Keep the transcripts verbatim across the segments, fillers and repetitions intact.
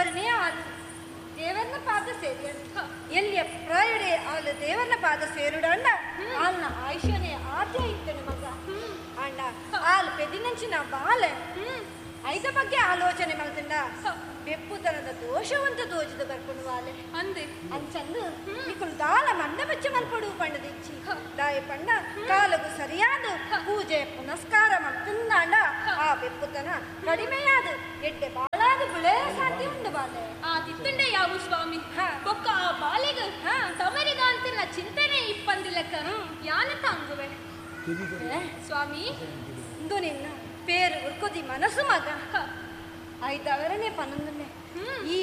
ಐದಾವರನೇ ಆಲು ದೇವರನ್ನ ಪಾದ ಸೇರಿಯನು. ಎಲ್ಲಿಯ ಪ್ರಾಯಡೆ ಆಲು ದೇವರನ್ನ ಪಾದ ಸೇರುಡಂಡ ಆಲ್ನ ಆಯುಷ್ಯನೇ ಆದ್ಯ ಇತ್ತನು ಮಗ. ಅಂಡ ಆಲ್ ಪೆದಿನಂಚಿನ ಬಾಲೆ ಐದ ಬಗ್ಗೆ ಆಲೋಚನೆ ಮಲ್ತಂಡ ಬೆಪ್ಪುತನದ ದೋಷವಂತ ದೋಜದ ಬರ್ಕೊಂಡು ವಾಲೆ ಅಂದೆ ಅಂಚಂದು ನಿಕುಲು ದಾಲ ಮಂಡ ಬಚ್ಚ ಮಲ್ಪಡು ಪಂಡದಿಚ್ಚಿ ದಾಯ ಪಂಡ ಕಾಲಗು ಸರಿಯಾದ ಪೂಜೆ ಪುನಸ್ಕಾರ ಮಲ್ತಂದಾಂಡ ಆ ಬೆಪ್ಪುತನ ಕಡಿಮೆಯಾದ ಎಡ್ಡೆ ಬಾಳಾದ ಬಿಳೆ ಸಾಧ್ಯ ಉಂಡು ಬಾಲೆ. ಆ ತಿತ್ತಂಡೆ ಯಾವು ಸ್ವಾಮಿ ಬೊಕ್ಕ ಆ ಬಾಲೆಗ ತಮರಿದ ಅಂತಿನ ಚಿಂತನೆ ಇಪ್ಪಂದಿಲಕ್ಕ ಯಾನ ತಾಂಗುವೆ ಸ್ವಾಮಿ. ಇಂದು ನಿನ್ನ ಪೇರು ಉರ್ಕೋದಿ ಮನಸ್ಸು ಮಗ ಐದವರನೇ ಪನ್ನೊಂದನೆ ಈ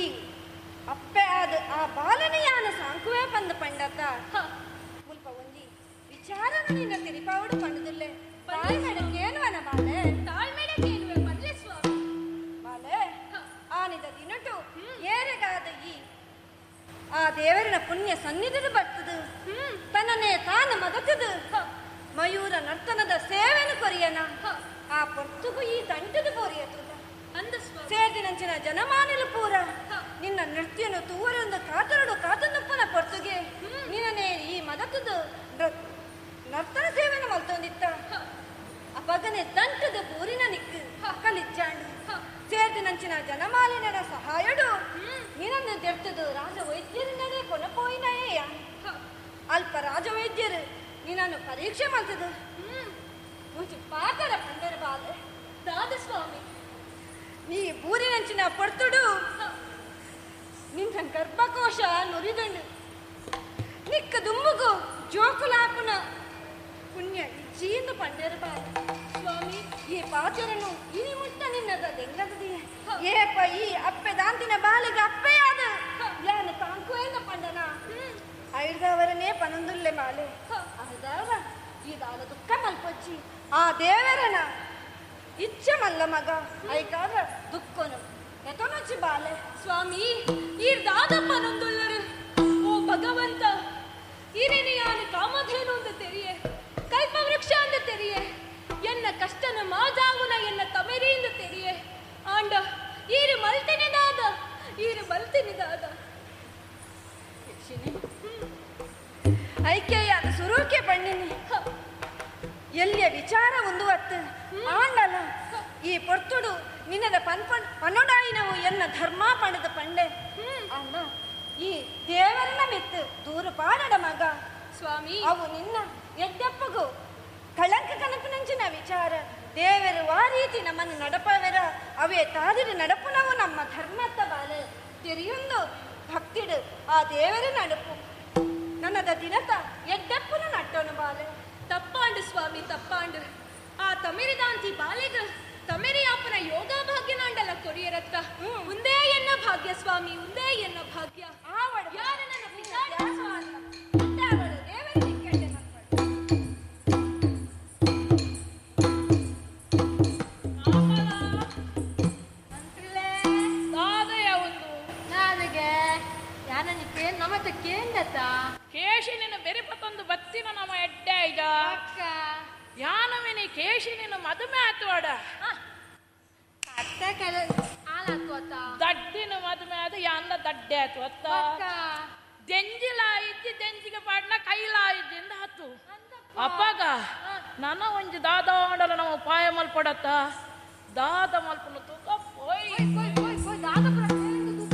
ಅಪ್ಪೆ ಆದ ಆ ಬಾಲನೆ ಯಾನ ಸಾಂಕುವೆ ಪಂದ ಪಂಡತ ಮುಲ್ಪ ಒಂಜಿ ವಿಚಾರನ ನಿನ್ನ ತಿರಿಪಾವಡು ಪಂಡದಿಲ್ಲೆ ತಾಳ್ಮೆಡಕ್ಕೇನುವನ ಬಾಲೆ ತಾಳ್ಮೆಡಕ್ಕೇನುವೆ ಪಂಡ್ಲೆ ಸ್ವಾಮಿ. ಬಾಲೆ ಆನಿದ ದಿನಟು ಏರೆಗಾದ ಈ ಆ ದೇವರನ ಪುಣ್ಯ ಸನ್ನಿಧಿದು ಬರ್ತದು ತನ್ನನೇ ತಾನು ಮದತದು ಮಯೂರ ನರ್ತನದ ಸೇವೆನು ಕೊರಿಯನ ಆ ಪೊರ್ತುಗು ಈ ದಂಟದ ಬೋರಿಯತು ಸೇರ್ದಿನಂಚಿನ ಜನಮಾನಿಲು ಪೂರ ನಿನ್ನ ನೃತ್ಯನು ತೂವರೊಂದು ಕಾತರಡು ಕಾತನುಪ್ಪನ ಪೊರ್ತುಗೆ ನಿನ್ನನೇ ಈ ಮದತದು ನರ್ತನ ಸೇವೆನು ಮಲ್ತೊಂದಿತ್ತ ಅಪಗನೆ ದಂಟದ ಪೂರಿನ ನಿಕ್ಕು ಕಲಿಚ್ಚಾಂಡು ಸೇರ್ದಿನಂಚಿನ ಜನಮಾಲಿನರ ಸಹಾಯಡು ನಿನ್ನನ್ನು ದೆರ್ತದು ರಾಜವೈದ್ಯರಿನದೇ ಕೊನಪೋಯಿನಯೇ. ಅಲ್ಪ ರಾಜವೈದ್ಯರು ನಿನ್ನನ್ನು ಪರೀಕ್ಷೆ ಮಲ್ತದು ಮುಂಚೆ ಪಾತರ ಪಂಡರ ಬಾಲೆ. ದಾದ ಸ್ವಾಮಿ ನೀ ಬೂರಿನಂಚಿನ ಪೊರ್ತುಡು ನಿನ್ನ ಗರ್ಭಕೋಶ ನುರಿದಂಡು ನಿಕ್ಕ ದುಂಬುಗು ಜೋಕುಲಾಪುನ ಪುಣ್ಯ ಇಜ್ಜೀಂದು ಪಂಡೇರು ಬಾಲೆ. ಸ್ವಾಮಿ ಈ ಪಾಚರನು ಇನಿ ಮುಟ್ಟ ನಿನ್ನದ ದೆಂಗದದಿಯೇ ಏಪ ಈ ಅಪ್ಪೆ ದಾಂತಿನ ಬಾಲಿಗೆ ಅಪ್ಪೆಯಾದ ಯಾನ ತಾಂಕುವೇನ ಪಂಡನ ಐದವರನೇ ಪನೊಂದುಲ್ಲೆ ಬಾಲೆ. ಐದವರ ಈ ದಾಲ ದುಃಖ ಮಲ್ಪೊಚ್ಚಿ ಆ ದೇವರನ ಇಚ್ಛೆ ಮಲ್ಲ ಮಗ ಐಕಾದ ದುಃಖನು ಎತನೊಚ್ಚಿ ಬಾಲೆ. ಸ್ವಾಮಿ ಈ ದಾದಪ್ಪ ನೊಂದುಲ್ಲರು ಓ ಭಗವಂತ ಈರೇನೆ ಯಾನು ಕಾಮಧೇನು ಅಂತ ತೆರಿಯೆ ಕಲ್ಪವೃಕ್ಷ ಅಂತ ತೆರಿಯೆ ಎನ್ನ ಕಷ್ಟನ ಮಾಜಾವುನ ಎನ್ನ ತಮೆರಿಯಿಂದ ತೆರಿಯೆ ಆಂಡ ಈರು ಮಲ್ತಿನಿ ದಾದ ಈರು ಮಲ್ತಿನಿ ದಾದ. ಐಕ್ಯ ಸುರೂಕೆ ಪಣ್ಣಿನಿ ಎಲ್ಲಿಯ ವಿಚಾರ ಒಂದು ಅತ್ತು ಆಂಡಲ ಈ ಪೊರ್ತುಡು ನಿನ್ನದ ಪನ್ಪಣ್ ಪನ್ನೊಡಾಯಿನವು ಎನ್ನ ಧರ್ಮ ಪಣದ ಪಂಡೆ ಅಣ್ಣ ಈ ದೇವರನ್ನ ಮೆತ್ತು ದೂರು ಪಾಡಡ ಮಗ. ಸ್ವಾಮಿ ಅವು ನಿನ್ನ ಎಡ್ಡಪ್ಪಗೂ ಕಳಂಕ ಕನಪಿನಂಚಿನ ವಿಚಾರ ದೇವರು ಆ ರೀತಿ ನಮ್ಮನ್ನು ನಡಪವೆರ ಅವೇ ತಾದಿರು ನಡಪುನವು ನಮ್ಮ ಧರ್ಮತ್ತ ಬಾಲೆ ತೆರೆಯೊಂದು ಭಕ್ತಿಡು ಆ ದೇವರ ನಡಪು ನನ್ನದ ದಿನತ ಎಡ್ಡಪ್ಪನ ನಟ್ಟೋನು ಬಾಲೆ. ತಪ್ಪಾಂಡು ಸ್ವಾಮಿ ತಪ್ಪಾಂಡು ಆ ತಮಿರಿದಾಂತಿ ಬಾಲೆಗ ತಮಿರಿಯಾಪನ ಯೋಗ ಭಾಗ್ಯನಾಂಡಲ ಕೊರಿಯರತ್ತ ಉಂದೇ ಎನ್ನ ಭಾಗ್ಯ ಸ್ವಾಮಿ ಉಂದೇ ಎನ್ನ ಭಾಗ್ಯ. ಯಾರ ನನ್ನ ಕೇಶಿನಿನ ಬೆರಿಪತ್ತೊಂದು ಬತ್ತಿನ ನಮ್ಮ ಎಡ್ಡೆ ಐದ ಯಾನವಿನಿ ಕೇಶಿನಿನ ಮದುವೆ ಆತವಾಡ ದಡ್ಡಿನ ಮದುವೆ ಆದ ಯಾನ ದಡ್ಡೆ ಆತು ಅತ್ತ ದೆಂಜಿಲ ಇದ್ದಿ ದೆಂಜಿಗೆ ಪಾಡ್ನ ಕೈಲ ಇದ್ದಿಂದ ಆತು ಅಪ್ಪಾಗ ನನ್ನ ಒಂಜಿ ದಾದಾಂಡಲ ನಮ್ಮ ಪಾಯ ಮಲ್ಪಡತ್ತ ದಾದ ಮಲ್ಪನ ತೂಕ ಪೋಯ್.